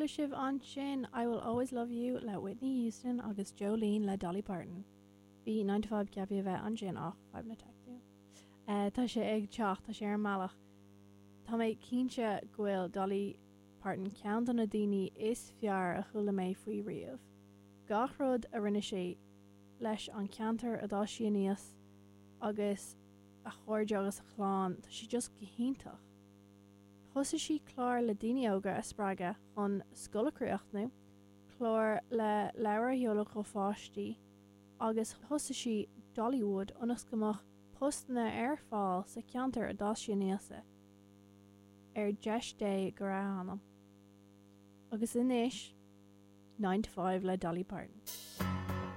Chuala sibh ansin I Will Always Love You le Whitney Houston agus Jolene le Dolly Parton. Bhí Nine to Five ceaptha a bheith ansin ach fadhbanna teicniúla. Tá sé ag teacht, tá sé ar an mbealach. Tá mé cinnte go bhfuil Dolly Parton ceann de na daoine is fearr a chuala mé faoi riamh. Gach rud a rinne sí leis an ceantar a d'fhás sí aníos agus a chairde agus a clann, tá sí just go hiontach. Thosaigh sí clár le daoine óga a spreagadh chun scoil a chríochnú, clár le leabhair a sheoladh do pháistí agus thosaigh sí Dollywood ionas go mbeadh postanna ar fáil sa cheantar a d'fhás sí aníos i. Ar dheis Dé go raibh a hanam. Agus anois, Nine to Five le Dolly Parton.